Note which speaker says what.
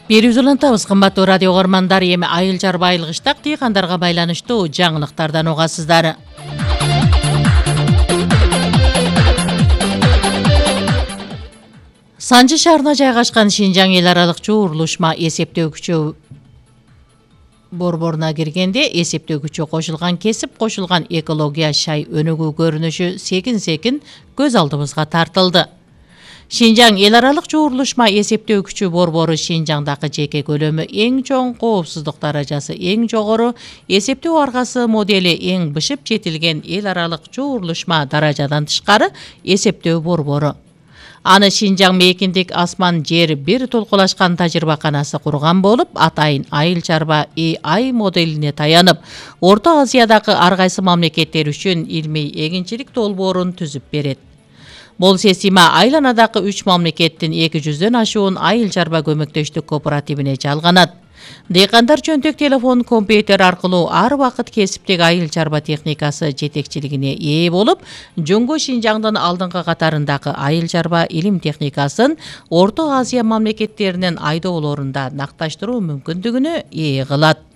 Speaker 1: Берип улантабыз, кымбаттуу радио көрмандар. Эми айыл чарба айылгыштак дыйкандарга байланыштуу жаңылыктардан угасыздар. Санжы шаарына жайгашкан Шинжаң эл аралык жуурулушма эсептөөгүчү борборуна киргенде эсептөөгүчү кошулган, кесип кошулган экология шай өнүгүү көрүнүшү секин көз алдыбызга тартылды. Шинжаң эл аралык жуурулушма эсептөөгүчү борбору Шинжаңдагы жеке көлөмү эң чоң, коопсуздук даражасы эң жогору, эсептөө аргасы модели эң бышып жетилген эл аралык жуурулушма даражадан тышкары эсептөө борбору. Аны Шинжаң мейкиндик асман жер бир толкулашкан тажрыйбаканасы курган болуп, атайын айыл чарба AI моделине таянып, Орто Азиядагы ар кайсы мамлекеттер үчүн илмий эгинчилик долбоорун түзүп берет. Бул система айланадагы 3 мамлекеттин 200дөн ашуун айыл чарба көмөктөштүк кооперативине жалганат. Дыйкандар жөнтөк телефон, компьютер аркылуу ар убакыт кесиптик айыл чарба техникасы жетекчилигине ээ болуп, Жөнгө Шинжаңдын алдыңкы катарындагы айыл чарба илим техникасын Орто Азия мамлекеттеринин айдоолорунда накташтыруу мүмкүндүгүнө ээ кылат.